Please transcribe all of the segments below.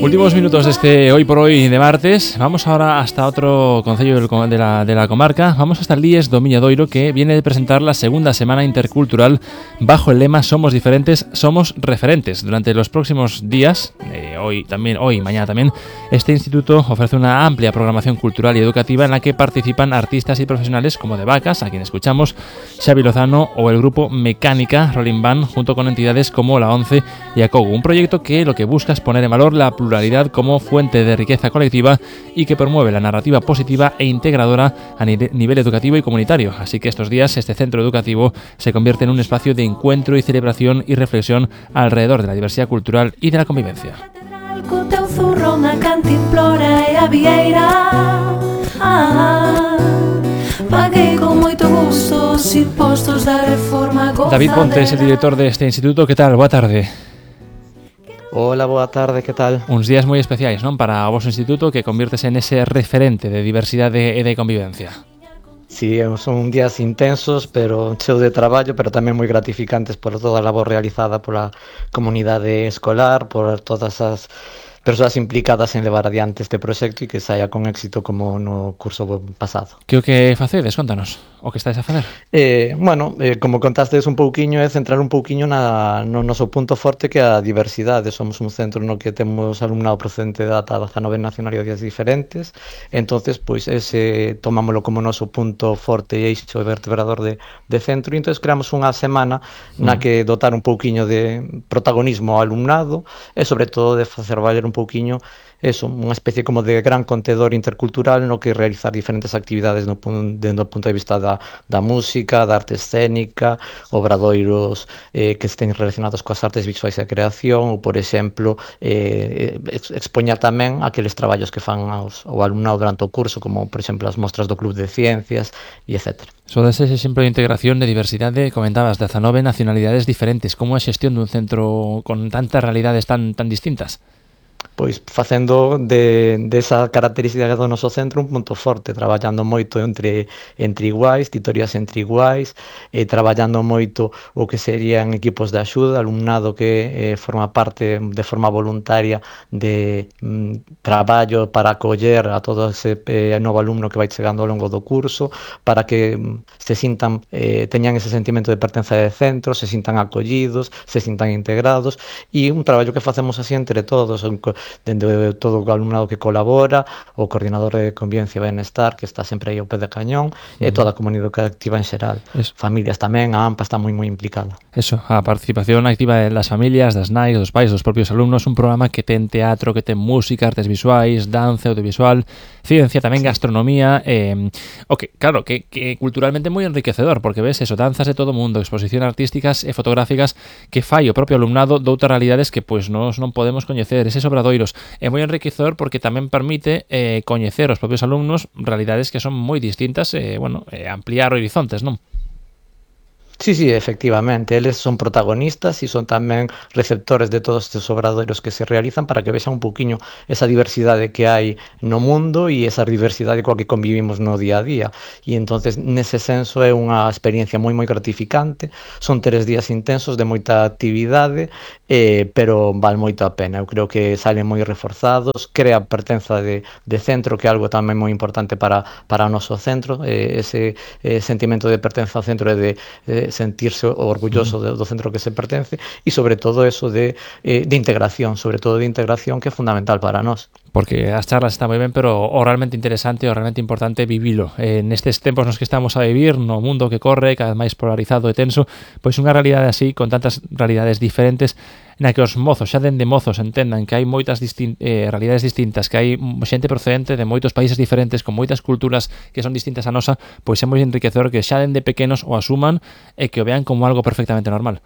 Últimos minutos de este Hoy por Hoy de martes. Vamos ahora hasta otro concello de la comarca. Vamos hasta Líes do Miñadoiro, que viene de presentar la segunda semana intercultural bajo el lema Somos diferentes, somos referentes. Durante los próximos días, hoy y mañana también, este instituto ofrece una amplia programación cultural y educativa en la que participan artistas y profesionales como De Vacas, a quien escuchamos, Xavi Lozano, o el grupo Mecánica Rolling Band, junto con entidades como la ONCE y ACOGU. Un proyecto que lo que busca es poner en valor la pluralidad como fuente de riqueza colectiva y que promueve la narrativa positiva e integradora a nivel educativo y comunitario. Así que estos días este centro educativo se convierte en un espacio de encuentro y celebración y reflexión alrededor de la diversidad cultural y de la convivencia. David Ponte es el director de este instituto. ¿Qué tal? Boa tarde. Hola, boa tarde, que tal? Uns días moi especiais, non? Para o vosso instituto, que convirtes en ese referente de diversidade e de convivencia. Sí, son días intensos, pero cheo de traballo, pero tamén moi gratificantes por toda a labor realizada pola comunidade escolar, por todas as persoas implicadas en levar adiante este proxecto e que saia con éxito como no curso pasado. Que o que facedes? Contanos, o que estáis a facer? Como contastes un pouquiño, é centrar un pouquiño no noso punto forte, que é a diversidade. Somos un centro no que temos alumnado procedente da 19 nacionalidades diferentes, entonces pois ese tomámoslo como noso punto forte e eixo vertebrador de centro, e entonces creamos unha semana na que dotar un pouquiño de protagonismo ao alumnado e sobre todo de facer valer un pouquiño eso, unha especie como de gran contedor intercultural no que realizar diferentes actividades dentro do punto de vista da música, da arte escénica, obradoiros que estén relacionados coas artes visuais e a creación, ou, por exemplo, expoñar tamén aqueles traballos que fan ao alumnado durante o curso, como, por exemplo, as mostras do Club de Ciencias, e etc. Sodes ese exemplo de integración de diversidade, comentabas, 19 nacionalidades diferentes. Como é a xestión dun centro con tantas realidades tan distintas? Pois facendo desa característica do noso centro un punto forte, traballando moito entre iguais, titorías entre iguais, traballando moito o que serían equipos de axuda, alumnado que forma parte de forma voluntaria de traballo para acoller a todo ese novo alumno que vai chegando ao longo do curso, para que se sintan, teñan ese sentimento de pertenza de centro, se sintan acollidos, se sintan integrados, e un traballo que facemos así entre todos, dende todo o alumnado que colabora, o coordinador de convivencia e benestar, que está sempre aí ao pé de cañón, e toda a comunidade activa en xeral. Familias tamén, a AMPA está moi implicada. Eso, a participación activa das familias, das nais, dos pais, dos propios alumnos, un programa que ten teatro, que ten música, artes visuais, danza, audiovisual, ciencia, tamén gastronomía, claro, que culturalmente moi enriquecedor, porque ves eso, danzas de todo o mundo, exposicións artísticas e fotográficas que fai o propio alumnado doutras realidades que pois nós non podemos coñecer. Eses obradoiros é moi enriquecedor porque tamén permite coñecer os propios alumnos realidades que son moi distintas e, ampliar horizontes, non? Sí, efectivamente, eles son protagonistas e son tamén receptores de todos estes obradoiros que se realizan para que vexan un pouquiño esa diversidade que hai no mundo e esa diversidade coa que convivimos no día a día. E entonces, nese senso, é unha experiencia moi gratificante. Son 3 días intensos de moita actividade, pero val moito a pena. Eu creo que salen moi reforzados, crea pertenza de centro, que é algo tamén moi importante para o noso centro, ese sentimento de pertenza ao centro e de sentirse orgulloso do centro que se pertence, e sobre todo eso de integración, sobre todo de integración, que é fundamental para nós. Porque as charlas están moi ben, pero o realmente interesante, o realmente importante é vivilo. Nestes tempos nos que estamos a vivir, no mundo que corre, cada vez máis polarizado e tenso, pois unha realidade así, con tantas realidades diferentes, na que os mozos, xa dende mozos, entendan que hai moitas realidades distintas, que hai xente procedente de moitos países diferentes, con moitas culturas que son distintas a nosa, pois é moi enriquecedor que xa dende pequenos o asuman e que o vean como algo perfectamente normal.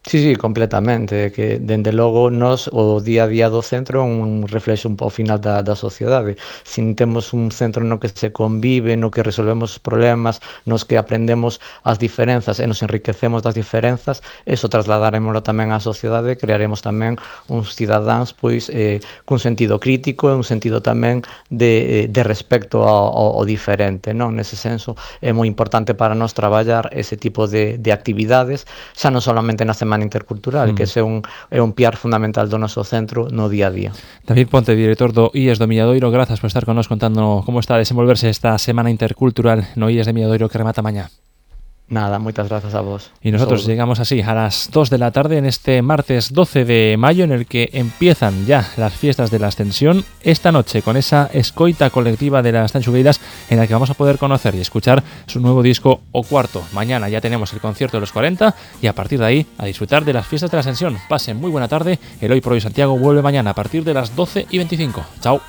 Sí, completamente, que dende logo nós o día a día do centro é un reflexo ao final da sociedade. Se temos un centro no que se convive, no que resolvemos problemas, nos que aprendemos as diferenzas e nos enriquecemos das diferenzas, eso trasladaremoslo tamén á sociedade, crearemos tamén uns cidadáns pois cun sentido crítico e un sentido tamén de respecto ao diferente, non? Nese senso é moi importante para nós traballar ese tipo de actividades, xa non solamente na semana Semana Intercultural, que é un piar fundamental do noso centro no día a día. David Ponte, director do IES do Milladoiro, grazas por estar con nos contando como está a desenvolverse esta Semana Intercultural no IES de Milladoiro que remata mañá. Nada, muchas gracias a vos. Y nosotros llegamos así a las 2 de la tarde en este martes 12 de mayo en el que empiezan ya las fiestas de la Ascensión esta noche con esa escoita colectiva de las Tanxugueiras en la que vamos a poder conocer y escuchar su nuevo disco O Cuarto. Mañana ya tenemos el concierto de los 40 y a partir de ahí a disfrutar de las fiestas de la Ascensión. Pasen muy buena tarde. El Hoy por Hoy Santiago vuelve mañana a partir de las 12:25. Chao.